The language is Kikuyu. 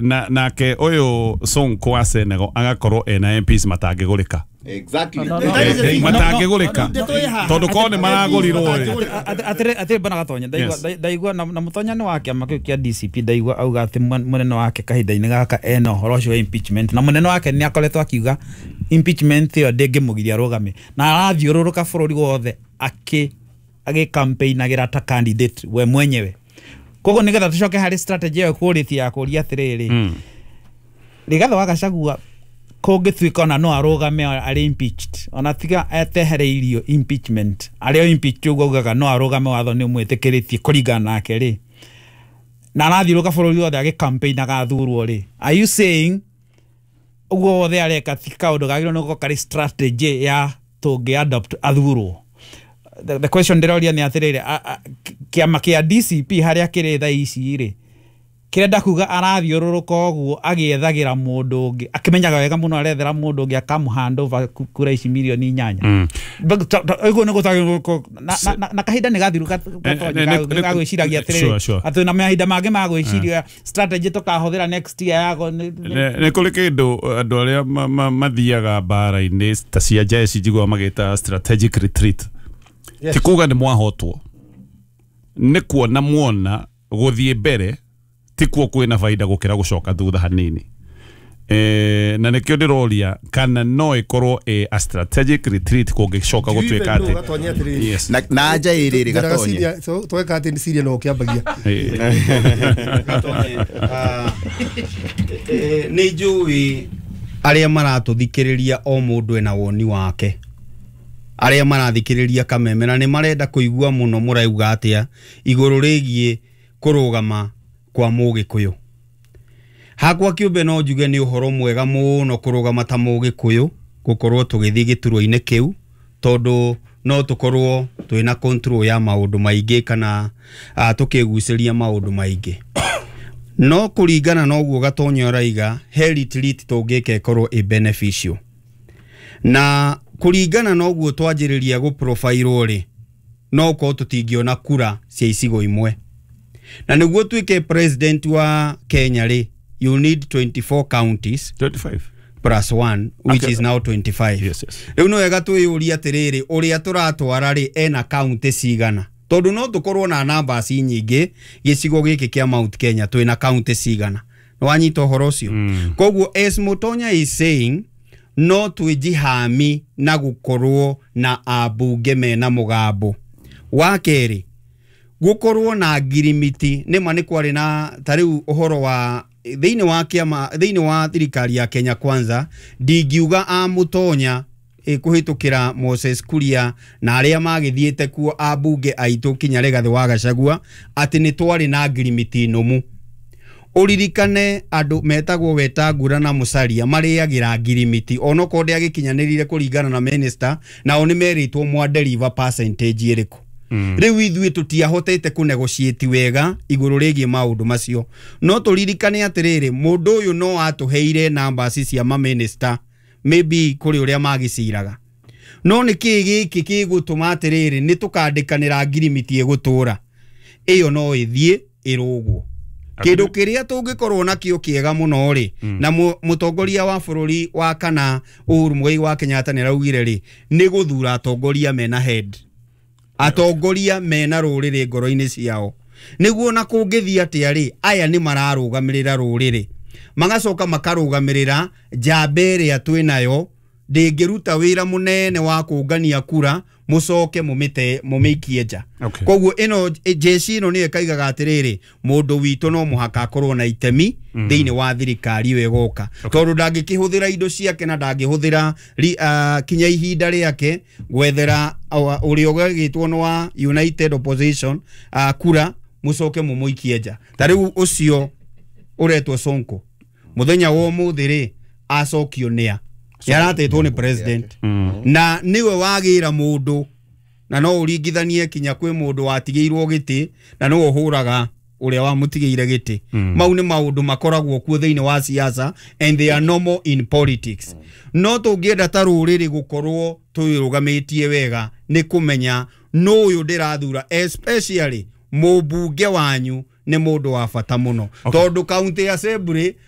Na nake ũyũ Sonko wa Senegal agakorwo ena MPs matangĩgũrĩka. Exactly. No, no, no. Matangĩgũrĩka tondũ korwo nĩ maragũrirwo rĩ. Atĩrĩ bana Gatonya, ndaigua ndaigua na Mũtonya nĩ wa kĩama kĩu kĩa DCP, ndaigua auga atĩ mũnene wake kahinda-inĩ gaka ena ũhoro ũcio wa impeachment, na mũnene wake nĩ akoretwo akiuga impeachment ĩyo ndĩngĩmũgiria arũgame, na arathiũrũrũka bũrũri wothe agĩcampaignagĩra ta candidate we mwenyewe. Koguo nĩgetha tũcoke harĩ strategy ĩyo kũrĩtie ya kũria atĩrĩrĩ, Rigathĩ wa Gachagua kũngĩtuĩka ona no arũgame arĩ impeached, ona tiga etehereirio impeachment, arĩ o impeached ũguo augaga no arũgame, watho nĩ ũmwĩtĩkĩrĩtie kũringana nake rĩ, na arathiũrũka bũrũri wothe agĩcampaignaga athurwo rĩ, are you saying ũguo wothe areka ti kaũndũ kagĩrĩirwo nĩ gũkorwo karĩ strategy ya tũngĩ adopt athurwo? The question ndĩroria nĩ atĩrĩrĩ, kĩama kĩa DCP harĩa kĩrĩ thaa ici rĩ, kĩrenda kuga arathiũrũrũka ũguo agĩethagĩra mũndũ ũngĩ, akĩmenyaga wega mũno arethera mũndũ ũngĩ akamũ hand over kura ici mirioni 8? Ũguo nĩ gũtagĩrĩirwo na kahinda nĩ gathiru gagwĩciragia atĩrĩrĩ, atĩ na mahinda mangĩ ma gwĩciria strategy tũkahũthĩra next year yago. Nĩ kũrĩ kĩndũ andũ arĩa mathiaga mbara-inĩ ta cia jeshi njiguaga magĩta strategic retreat. Ti kuga nĩ mwahotwo, nĩ kuona muona gũthiĩ mbere ti kuo kwĩna baida gũkĩra gũcoka thutha hanini. Na nĩkĩo ndĩroria kana no ĩkorwo ĩ a strategic retreat kũngĩcoka gũtuĩka atĩ. Yes. Na anja ĩrĩ Gatonye. Tweka atĩ nĩ Syria no ũkĩambagia. Gatonye, nĩ njũĩ arĩa maratũthikĩrĩria o mũndũ ena woni wake, arĩa marathikĩrĩria Kameme na nĩ marenda kũigua mũno mũrauga atĩa igũrũ rĩgiĩ kũrũgama kwa Mũgĩkũyũ. Hakwa kĩũmbe no njuge nĩ ũhoro mwega mũno kũrũgama ta Mũgĩkũyũ gũkorwo tũgĩthiĩ gĩturwa-inĩ kĩu, tondũ no tũkorwo twĩna control ya maũndũ maingĩ kana tũkĩgucĩria maũndũ maingĩ. No kũringana na ũguo Gatonya araiga, he retreat tũngĩka ĩkorwo ĩ beneficial. Na kũringana na ũguo twanjĩrĩria gũ-profile rĩ, no ũkorwo tũtingĩona kura cia icigo imwe. Na nĩguo tuĩke president wa Kenya rĩ, you need 24 counties 25 plus 1 which is now 25. Rĩu nĩ wega twĩyũrie atĩrĩrĩ, ũrĩa tũratwara rĩ ena county cigana? Tondũ no tũkorwo na numbers nyingĩ gĩcigo gĩkĩ kĩa Mount Kenya twĩna county cigana? Nĩ wanyita ũhoro ũcio? Koguo as Mutonya is saying, no twĩjihami na gũkorwo na ambunge mena mũgambo. Wa kerĩ, gũkorwo na ngirimiti. Nĩma nĩ kwarĩ na ta rĩu ũhoro wa thĩinĩ wa kĩama, thĩinĩ wa thirikari ya Kenya Kwanza, ndingiuga a Mutonya kũhĩtũkĩra Moses Kuria na arĩa magĩthiĩte kuo ambunge aitũ kinya Rigathĩ wa Gachagua atĩ nĩ twarĩ na ngirimiti nũmu. Ũririkane andũ metagwo Wetangula na Musalia marĩagĩra ngirimiti onokorwo ndĩagĩkinyanĩrire kũringana na minister, nao nĩ merĩtwo mwa deliver percentage ĩrĩkũ. Rĩu ithuĩ tũtiahotete kũ negotiate wega igũrũ rĩgiĩ maũndũ macio. No tũririkane atĩrĩrĩ, mũndũ ũyũ no atũheire numbers cia ma minister maybe kũrĩ ũrĩa magĩciraga, no nĩ kĩĩ gĩkĩ gĩgũtũma atĩrĩrĩ nĩ tũkandĩkanĩra ngirimiti ĩgũtũra ĩyo no ĩthiĩ ĩrũgwo? Kĩndũ kĩrĩa tũngĩkorwo nakĩo kĩega mũno rĩ, na mũtongoria wa bũrũri wa kana Uhuru Muigai wa Kenyatta nĩ araugire rĩ, nĩ gũthura atongoria mena head, atongoria mena rũrĩrĩ ngoro-inĩ ciao, nĩguo na kũngĩthiĩ atĩa rĩ, aya nĩ mararũgamĩrĩra rũrĩrĩ, magacoka makarũgamĩrĩra njamba ĩrĩa twĩnayo ndĩngĩruta wĩra mũnene wa kũngania kura mũcoke mũmĩte mũmĩikie nja. Koguo ĩno jeshi ĩno nĩyo ĩkaigaga atĩrĩrĩ, mũndũ witũ no mũhaka akorwo na itemi thĩinĩ wa thirikari ĩyo ĩgoka, tondũ ndangĩkĩhũthĩra indo ciake na ndangĩhũthĩra kinya ihinda rĩake gwethera ũrĩa ũgagĩtwo nĩ wa United Opposition kura mũcoke mũmũikie nja. Ta rĩu ũcio ũretwo Sonko mũthenya wa ũmũthĩ rĩ, acokio nĩa yaratetwo nĩ president na nĩwe wagĩra mũndũ, na no ũringithanie kinya kwĩ mũndũ watigĩirwo gĩtĩ na nĩwe ũhũraga ũrĩa wamũtigĩire gĩtĩ. Mau nĩ maũndũ makoragwo kuo thĩinĩ wa siasa and they are normal in politics. No tũngĩenda ta rũrĩrĩ gũkorwo twĩrũgamĩtie wega nĩ kũmenya nũ ũyũ ndĩrathura, especially mũmbunge wanyu. Nĩ mũndũ wa bata mũno, tondũ county assembly